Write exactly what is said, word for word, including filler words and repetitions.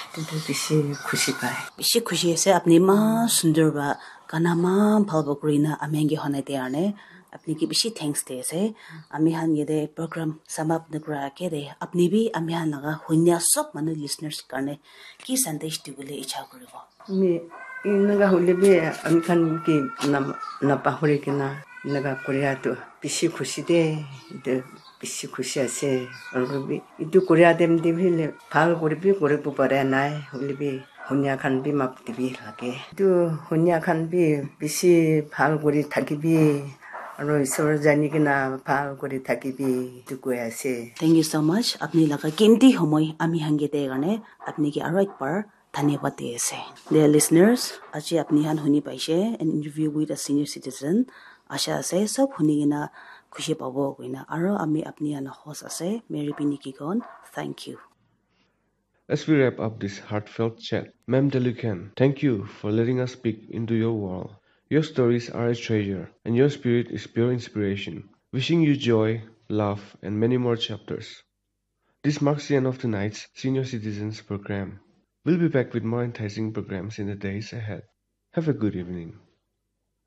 Etu tu bishi khushi pai. Bishi khushi ase, apni eman sundur para gana eman bhal para kuri na ami khan ke honai dia karne apni ke bishi thanks di ase. Ami khan yate program sum up nakura age te apni bi ami khan laga hunia sob manu listeners karne ki sandesh dibole icha kuribo? Ami eneka hoile bi ami khan ke nam-, napahori kena eneka koria tu bishi khushi de, etu bishi khushi ase. Aru bi etu koria time te bi le bhal kuri bi kuribo pare nai, hoile bi hunia khan bi map dibi lage. Etu hunia khan bi bishi bhal kuri thakibi, aru isor jani kena bhal kuri thakibi, etu koi ase. Thank you so much. Apni laga kimti homoi ami khan ke de karne apni ke aru ek bar dhanyabad di ase. Dear listeners, aji apni khan huni paise an interview with a senior citizen. Asha ase sob huni kena khushi pabo koina. Aro ami apni khan host ase, Mary P Nikigon. Thank you. As we wrap up this heartfelt chat, Ma'am Delukan, thank you for letting us speak into your world. Your stories are a treasure, and your spirit is pure inspiration. Wishing you joy, love, and many more chapters. This marks the end of tonight's Senior Citizens Program. We'll be back with more enticing programs in the days ahead. Have a good evening.